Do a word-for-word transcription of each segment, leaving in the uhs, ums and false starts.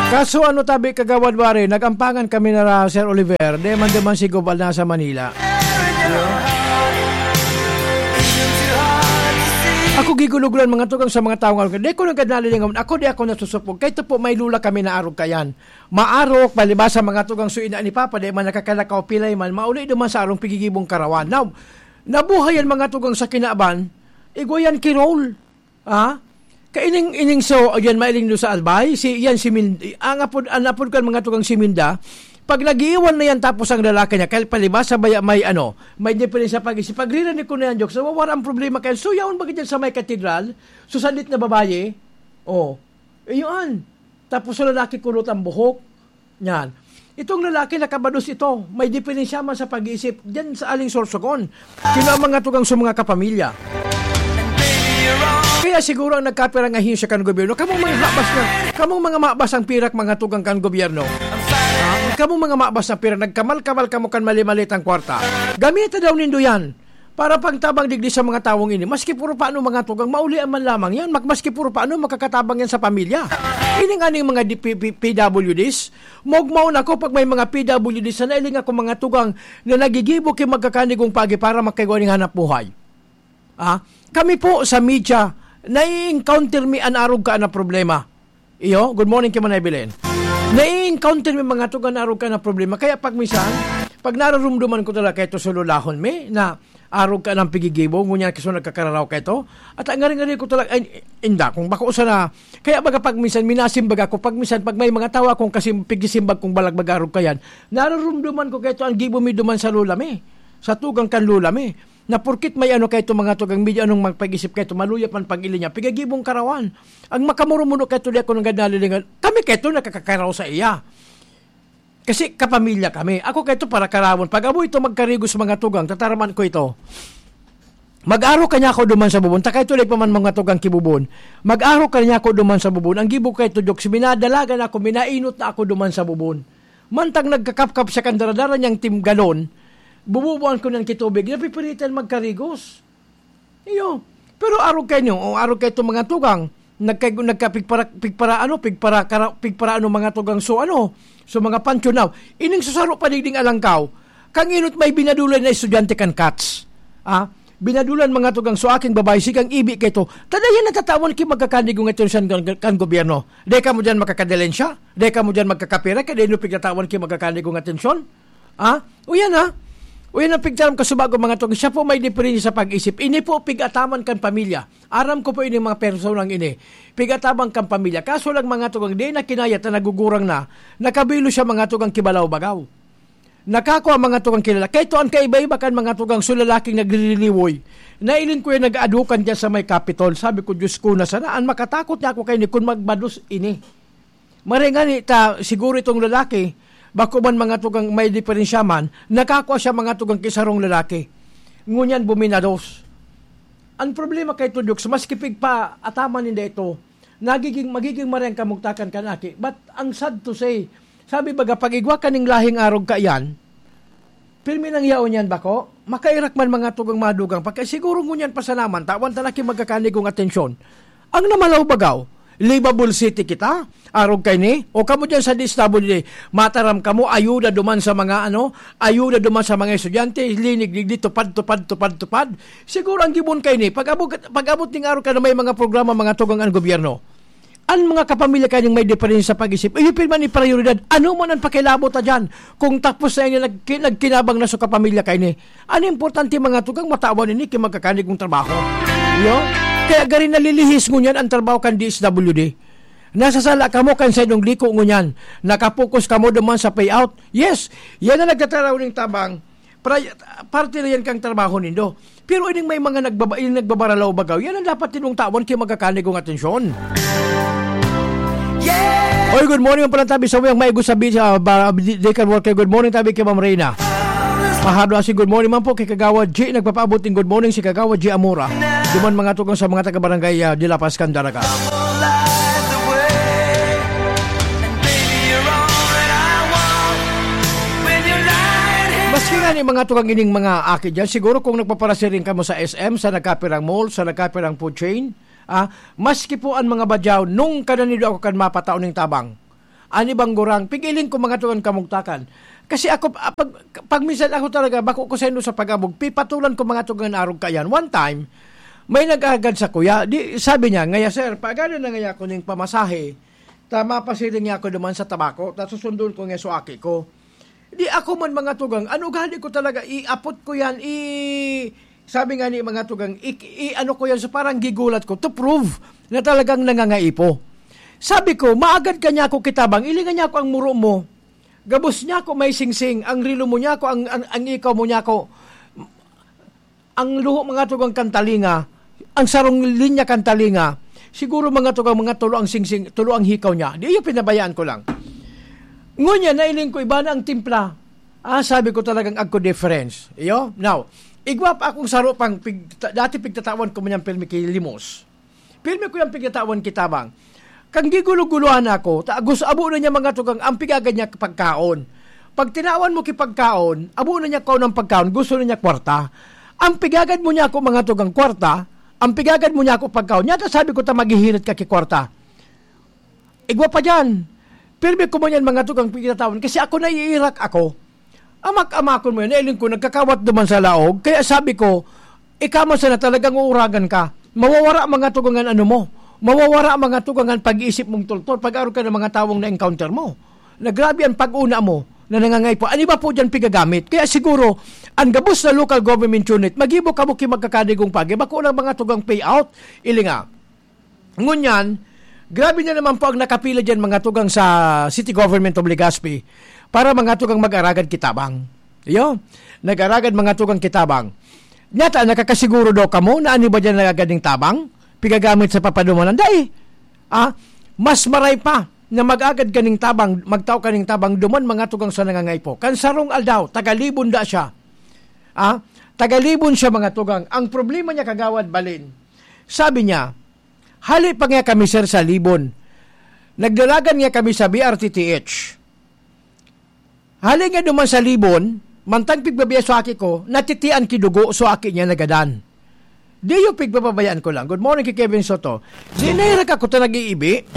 Kaso ano tabi, Kagawad Warren, nag-ampangan kami na ra, Sir Oliver, di man, di man si Gobal nasa Manila. Ako giguluglan, mga tugang, sa mga taong arog. Di ko nagkadalilingon. Ako, di ako nasusupog. Kaya ito po, may lula kami na arog kayan. Maarog, palibasa, mga tugang, so ina ni Papa, di man nakakalakaw, pilay man, mauli duman sa arong pigigibong karawan. Now, nabuhay yan, mga tugang, sa kinaban, igwa yan kirol. Ah? Kaining, ining so, yan, mailing do sa Albay, si, yan, si Min-, ang apod, ang apod kan mga tugang si Minda, pag nag-iiwan na yan, tapos ang lalaki niya, kaya palibasa, baya may, ano, may diferensya pag-isip. Pag riranig ko na yan, jokes, nawawara ang problema kaya. So, yaon ba dyan sa may katedral? So, sandit na babae? Oh. Iyon. Tapos sa lalaki, kulot ang buhok. Yan. Itong lalaki, nakabados ito. May diferensya man sa pag-iisip. Diyan sa aling sorsogon. Sino ang mga tugang sa mga kapamilya? Kaya siguro ang nagkapirang ahensya kan gobyerno, kamong mga mabas na, kamong mga mabas ang pirak, mga tugang kan gobyerno. Ah, kamong mga mabas na pirak, nagkamal-kamal kamo kan mali-malitang kwarta. Gamita daw nindo yan para pangtabang digdi sa mga tawong ini. Maski puro paano, mga tugang, maulian man lamang yan. Mak-, maski puro paano, makakatabang yan sa pamilya. Ining aning mga D P P, P W Ds, mogmaon ako pag may mga P W Ds na nailing ako, mga tugang, na nagigibo ki magkakanigong pagi para makaigwa ning hanap buhay. Ah, kami po sa media, nai-encounter mi an arog ka na problema. Iyo, good morning, ki Manay Belen. Nai-encounter mi mga tugang na arog ka na problema. Kaya pag minsan, pag nararumduman ko talaga, ito sululahon mi, na arog ka ng pigigibo, ngunyan kaso nagkakararaw ka ito. At ang ngari-ngari ko talaga, ay, inda, kung bako sana, kaya baga pag minsan, minasimbaga ko, pag minsan, pag may mga tawa akong kasim-, pigisimbag kong balag bagarog kayan, nararumduman ko kaito ang gibo mi duman sa lula mi, sa tugang kan lula mi. Na porket may ano kaito mga tugang, medyo anong magpag-isip kaito, maluya pan pag-ili niya, pigagibong karawan. Ang makamuro-muro kaito, di ako nanggad nalilingan. Kami kaito nakakakaraw sa iya. Kasi kapamilya kami. Ako kaito para karawon. Pag amo ito magkarigos mga tugang, tataraman ko ito. Mag-aro ka niya ako duman sa bubon. Takay tuloy pa man mga tugang kibubon. Mag-aro ka niya ako duman sa bubon. Ang gibo kaito, Diyos, minadalagan ako, minainot na ako duman sa bubon. Mantang nagkakapkap siya kan daradara niyang timgalon, bububuan ko niyang kitubig, napipiritan magkarigos. Iyo. Pero arog kayo, o arog kayo itong mga tugang, nagka-, nagka-, pigpara, pigpara, ano, pigpara, kara-, pigpara, ano, mga tugang, so, ano, so, mga pancho now. Ining susaro pa digding alangkaw, kang inot may binadulan na estudyante kan kats. Ah, binadulan mga tugang, so, aking babae, sigang ibi kayo to. Tadayan natatawan ki magkakanigong atensyon kan, kan gobyerno. Dai kamo diyan makakadalensya? Dai kamo diyan magkakapira? Kaya dai nyo pigtatawan ki magkakanigong atensyon? Ah? O yan, ha? O yan ang pigtaram ka subago, mga tugang. Siya po may diferensya sa pag-isip. Ini po pig-ataman kan pamilya. Aram ko po ini mga personang ini. Pig-ataman kan pamilya. Kaso lang, mga tugang, di na kinaya ta nagugurang na. Nakabilo siya, mga tugang, kibalaw-bagaw. Nakakua, mga tugang, kilala. Kaya ito ang kaiba-iba kan mga tugang, so lalaking nagririliwoy. Nailing ko yan, nag-aadukan dyan sa may Capitol. Sabi ko, "Diyos ko, na sana ang makatakot niya ako kayo ni kun magbados ini." Maray ngani ta, siguro itong lalaki, bako man mga tugang may diferensya man, nakakua siya mga tugang kisarong lalaki. Ngunyan buminados. Ang problema kay Tudyoks, maski pigpaataman ninda ito, nagiging, magiging maray ang kamugtakan kan aki. But ang sad to say, sabi baga, pag igwa ka ning lahing arog ka iyan, pirmi nang yaon yan bako, makairak man mga tugang madugang, pagka siguro ngunyan pa sana man, tawan ta na ki magkakanigong atensyon. Ang namalaw bagaw, livable city kita, arog kay ni, o kamo dyan sa D S W D, mataram kamo, ayuda duman sa mga, ano, ayuda duman sa mga estudyante, linig, digdi, tupad, tupad, tupad, tupad. Siguro ang gibon kay ni, pag-abot, pag-abot ning araw ka na may mga programa, mga tugang ang gobyerno. Ang mga kapamilya kay ning may diferensya sa pag-isip, iyo pirman ni prioridad. Ano man ang pakilabot ta dyan? Kung tapos na ini, nagki-, nagkinabang na sa kapamilya kay ni. Ang importante, mga tugang, matawan ini ki magkakanigong trabaho. Iyo? Kaya gari nalilihis ngunyan ang trabaho kan D S W D. Nasasala kamo kan saindong liko ngunyan. Nakapokus kamo duman sa payout. Yes, yan ang nagtataraw ning tabang. Pra-, parte na yan kang trabaho nindo. Pero ining may mga nagbaba-, ining nagbabaralaw bagaw, yan ang dapat ninyong tawan ki magkakanigong atensyon. Yeah! Oy, good morning, palang tabi sa uyang maigo sabi sa, ba, di, di kan worker. Good morning, tabi kay Ma'am Reyna. Pahado asi, good morning man po kay Kagawad G. Nagpapaabot ning good morning si Kagawad G Amora. Duman mga tugang sa mga taga-barangay, ah, de La Paz, Candaraga. Maski nga ni mga tugang ining mga aki dyan, siguro kung nagpaparasiring kamo sa S M, sa nagkapirang mall, sa nagkapirang food chain, ah, maski po ang mga badyaw, nung kananido ako kan mapatao ning tabang. Ani bang gurang, pigiling ko mga tugang kamugtakan. Kasi ako, ah, pag, pag minsan ako talaga, bako ko saindo sa pag-abog, pipatulan ko mga tugang arog kayan. One time, may nag-agad sa kuya. Di, sabi niya, "Ngaya, sir, paagadan na ngaya ako ning pamasahe. Ta mapasiring niya ako duman sa tabako, ta susundon ko nga suaki ko." Di ako man mga tugang, ano gali ko talaga, iapot ko yan, i-, sabi nga ni mga tugang, i-, i-, ano ko yan, so parang gigulat ko to prove na talagang nangangaipo. Sabi ko, "Maagad ka niya ako kitabang, ilingan niya ako ang muro mo. Gabos niya ako may singsing, ang rilo mo niya ako, ang, ang, ang ikaw mo niya ako, ang luho mga tugang kantalinga, ang sarong linya kantalinga, siguro mga tugang mga tulo ang singsing, tulo ang hikaw niya." Di iyo pinabayaan ko lang. Ngunyan, nailing ko, iba na ang timpla. Ah, sabi ko talagang agko difference. Iyo? Now, igwa pa akong saro pang pig-, dati pigtatawan ko man yung pirmi ki Limos. Pirmi ko yung pigtatawan kitabang. Kan gigulo-guluhan ako, ta agus-, abo na niya mga tugang ang pigagad niya pagkaon. Pag tinawan mo ki pagkaon, abo na niya kaon ang pagkaon, gusto na niya kwarta. Ang pigagad mo niya ako mga tugang kwarta, ang pigagad mo niya ako pagkaon. Nyata sabi ko ta maghihirit ka ki kwarta. Igwa pa diyan. Pirmi ko man yan mga tugang pigtatawan kasi ako naiirak ako. Amak-amakon mo yan, nailing ko, nagkakawat duman sa laog. Kaya sabi ko, ikaw man sana talagang uuragan ka. Mawawara mga tugangan ano mo. Mawawara mga tugangan pag-iisip mong tultol pag araw ka ng mga tawong na-encounter mo. Na grabe ang pag-una mo na nangangaipo. Ano ba po dyan pigagamit? Kaya siguro, ang gabos na local government unit, magibo ka mo ki magkakadigong pagi, bako lang mga tugang payout. Ili nga. Ngunyan, grabe na naman po ang nakapila dyan mga tugang sa City Government of Legazpi para mga tugang mag-aragad kitabang. Iyo, nag-aragad mga tugang kitabang. Nyata, nakakasiguro daw kamo na ano ba dyan nagagad ning tabang? Pigagamit sa papadumanan? Dai! Ah, mas maray pa na mag-agad kaning tabang, magtao kaning tabang duman mga tugang sa nangangaipo. Kan sarong aldaw, tagalibon da siya. Ah, tagalibon siya mga tugang. Ang problema niya kagawad balin. Sabi niya, "Hali pa nga kami, sir, sa Libon. Nagdalagan nga kami sa B R T T H. Hali nga duman sa Libon, mantang pigbabiya sa aki ko, natitian ki dugo sa aki niya nagadan." Di yung pigbababayaan ko lang. Good morning kay Kevin Soto. Di nahirak ako ta nag-iibi.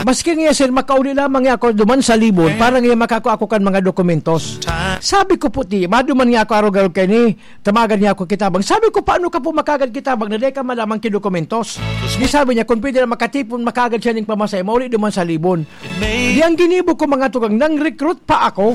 Maski nga, sir, makauli lamang nga ako duman sa Libon para nga makako ako kan mga dokumentos. Sabi ko po, "Ti, maduman nga ako arog-arog kay ni, tamagan niya ako kitabang." Sabi ko, "Paano ka po makagad kitabang na di ka malaman ki dokumentos?" Di sabi niya, kung pwede na makatipon, makagad siya ning pamasay, mauli duman sa Libon. Di ang ginibo ko, mga tugang, nang recruit pa ako.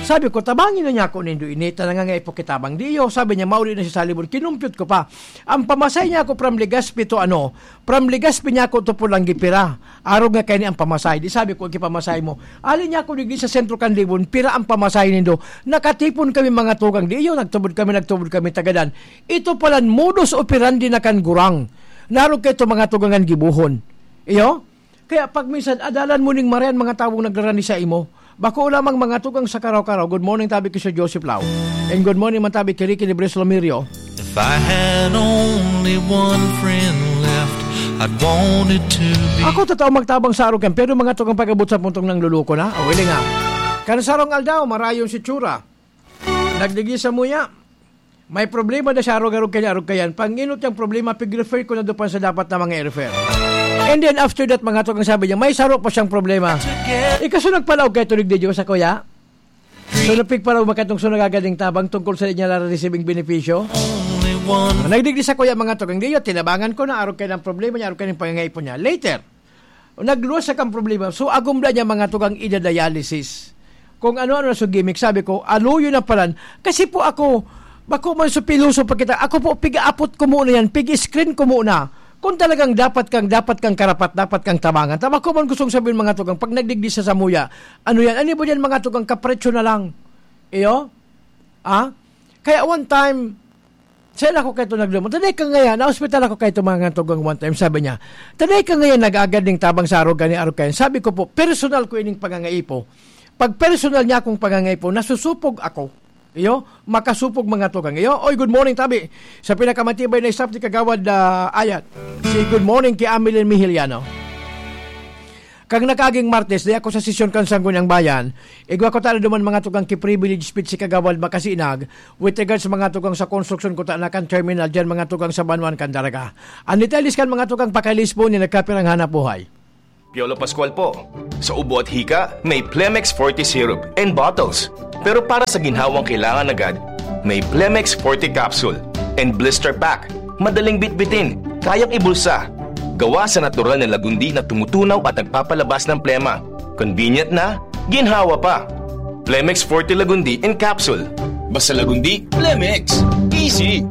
Sabi ko, "Tabangin na niya ako nindo ini, ta nangangaipo kitabang." Di iyo, sabi niya, mauli na siya sa Libon. Kinumpyut ko pa. Ang pamasay niya ako from Legazpi to ano, from Legazpi niya ako to Pulangi pira. Arog nga kaya ni ang pamasay. Di sabi ko, "Ikipamasay mo." Alin niya ako digdi sa sentro kan Libon, pira ang pamasay nindo. Nakatipon kami mga tugang. Di iyo, nagtubod kami, nagtubod kami tagadan. Ito palan modus operandi na kan gurang. Narog kayo to mga tugangan gibuhon. Iyo? Kaya pag minsan, adalan mo ning marayan mga tawong nagrarani sa imo. Bako lamang mga tugang sa Karaw-Karaw. Good morning, tabi ko si Joseph Lau. And good morning, man tabi ki Ricky de Bres Lomirio. If I had only one friend left, I'd want it to be. Ako, totoo magtabang sa arukan, pero mga tugang pag-abot sa puntong nang luluko na. O, hindi nga. Kan sarong aldaw, marayon si Chura. Nagdigi sa muya. May problema na siya, arog-arog kanya, arog kayan. Panginot niyang problema, pig-refer ko na doon pa sa dapat na mga i-refer. And then after that, mga tugang, sabi niya, may saro pa siyang problema. Ikaso nagpalaog kay tulig di Diyos, ako ya? So, napigpalaog makatong so nagagaling tabang tungkol sa inya na receiving benepisyo. Nagdigdi sa kuya, mga tugang, di yun, tinabangan ko na, arog kayo ng problema niya, arog kayo ng pangangaipon niya. Later, nagluwas sa kang problema. So, agumda niya mga tugang ida-dialysis. Kung ano-ano na so gimmick, sabi ko, "Aluyo na palan." Kasi po ako, bako man so piloso pa kita. Ako po, pig-aapot ko muna yan, pig-screen ko muna. Kung talagang dapat kang, dapat kang karapat, dapat kang tabangan. Tama ko man gustong sabihin mga tugang, pag nagdigdi sa samuya, ano yan? Ano ba yan mga tugang? Kapretsyo na lang. Iyo? Ah? Kaya one time, saan ako kayo nagdumon? Taday ka ngayon, na-hospital ako kayo mga tugang one time. Sabi niya, "Taday ka ngayon nag-agad ning tabang sa arog kani, arog kayo." Sabi ko po, "Personal ko ining pangangaipo." Pag personal niya akong pangangaipo, nasusupog ako. Iyo, makasupog mga tugang. Iyo, oy, good morning, tabi. Sa pinakamatibay na staff ni Kagawad ah, Ayat. Si good morning kay Amelie Mihiliano. Kang nakaging Martes, di ako sa sesyon kan Sangguniang Bayan. Igwa ko talo duman mga tugang ki privilege speech si Kagawad Makasinag with regards sa mga tugang sa konstruksyon ko ta na kan terminal dyan mga tugang sa Banwan kan Daraga. Ang detalles kan mga tugang pakalis po ni nagkapirang hanap buhay. Piolo Pascual po. Sa ubo at hika, may Plemex Forte Syrup and bottles. Pero para sa ginhawang kailangan agad, may Plemex Forte Capsule and Blister Pack. Madaling bitbitin, kayang ibulsa. Gawa sa natural na lagundi na tumutunaw at nagpapalabas ng plema. Convenient na, ginhawa pa. Plemex Forte Lagundi in Capsule. Basta Lagundi, Plemex. Easy!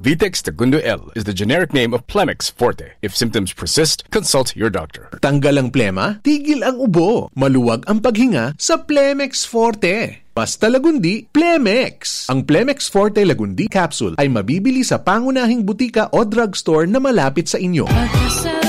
Vitex Tagundo L is the generic name of Plemex Forte. If symptoms persist, consult your doctor. Tanggal ang plema, tigil ang ubo. Maluwag ang paghinga sa Plemex Forte. Basta Lagundi, Plemex! Ang Plemex Forte Lagundi Capsule ay mabibili sa pangunahing butika o drugstore na malapit sa inyo.